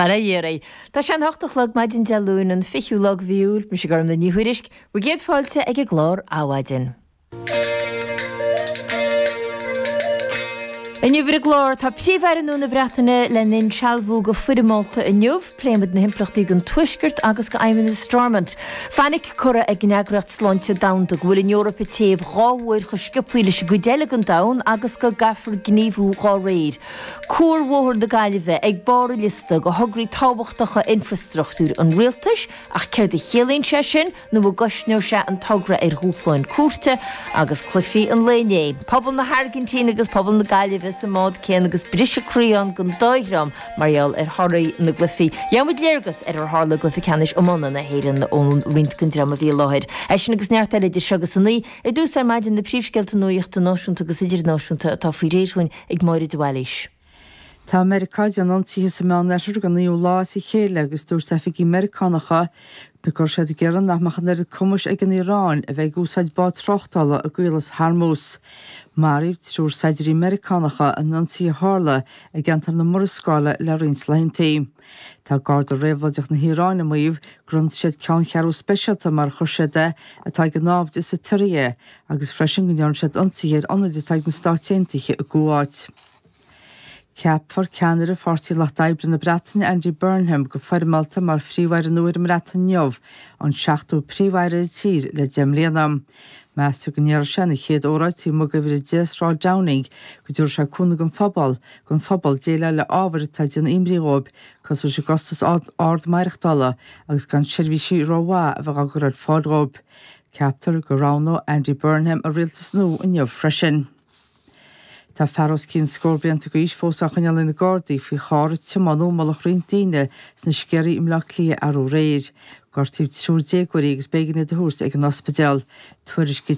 Bail ó Dhia oraibh. Tá sé an hocht a chlog maidin Dé Luain an 20ú lá de mhí Iúil. Mise Gormlaith Ní Thuairisg. Bhur gcéad fáilte ag an gclár Adhmhaidin. Inniu ar an gclár tá Príomh-Aire nua na Breataine lena insealbhú go foirmeálta inniu. Pléimid na himpleachtaí don Tuaisceart agus do Fheidhmeannas Stormont. Fainic curtha ag an Eagraíocht Sláinte Domhanda go bhfuil an Eoraip ag téamh dhá uair chomh sciobthaí leis an gcuid eile den domhan agus go gcaithfear gníomhú dhá réir. Cuarbhóthar na Gaillimhe ag barr an liosta de thograí tábhachtacha infreastruchtúir an rialtais, ach céard a chiallaíonn sé sin nó an gcosnóidh sé an togra ar dhúshláin cúirte? Agus cluichí an lae inné, pobal na hAirgintíne agus pobal na Gaillimhe sa mbád céanna agus briseadh croí ann don dá dhream mar gheall ar thorthaí na gcluichí. Gheobhaidh muid léargas ar ar tharla i gcluiche ceannais iomána na hÉireann ó roinnt den dream a bhí i láthair. É sin agus neart eile idir seo agus a naoi. Ar dtús ar maidin na príomhscéalta nuachta náisiúnta agus idirnáisiúnta atá faoi réir dhúinn ag Máire de Bhailís. Tá Meiriceá ag déanamh ionsaithe sa Meánoirthear don naoú lá as a chéile agus dúirt oifigigh Meiriceánacha go raibh siad ag iarraidh nach mbeadh an oiread cumais ag an Iaráin a bheith ag úsáid bád tráchtála i gCaolas Hormuz. Maraíodh triúr saighdiúirí Meiriceánacha in ionsaí a tharla i gceantar na Murascaille le roinnt laethanta. Tá Garda Réabhlóideach na hIaráine ag maíomh gur ionsaigh siad ceanncheathrú speisialta, mar a chuir siad é, atá ag an naimhdeas sa tSiria agus freisin go ndearna siad ionsaithe ar ionaid atá ag na Stáit Aontaithe i gCuáit. Ceapfar ceannaire Pháirtí Lucht Oibre na Breataine, Andy Burnham, go foirmeálta mar Phríomh-Aire nua ar an mBreatain inniu, an seachtú Príomh-Aire ar an tír le 10 mbliana. Meastar go ndéarfaidh sé ina chéad óráid taobh amuigh d'uimhir 10 Sráid Downing go dtabharfaidh sé cúnamh don phobal don phobal déileáil le ábhair atá ag déanamh imní dhóibh, cosúil leis an gcostas ard maireachtála agus gan seirbhísí rómhaith a bheith á gcur ar fáil dhóibh. Ceaptar go roghnóidh Andy Burnham a rialtas nua inniu freisin. Tá fear os cionn scór blianta d'aois fós á choinneáil ag na Gardaí faoi charr a tiomáineadh i mullach roinnt daoine sna Sceirí i mBleá Cliath arú aréir. Gortaíodh triúr déagóirí agus b'éigean iad a thabhairt ag an ospidéal. Tuairiscítear.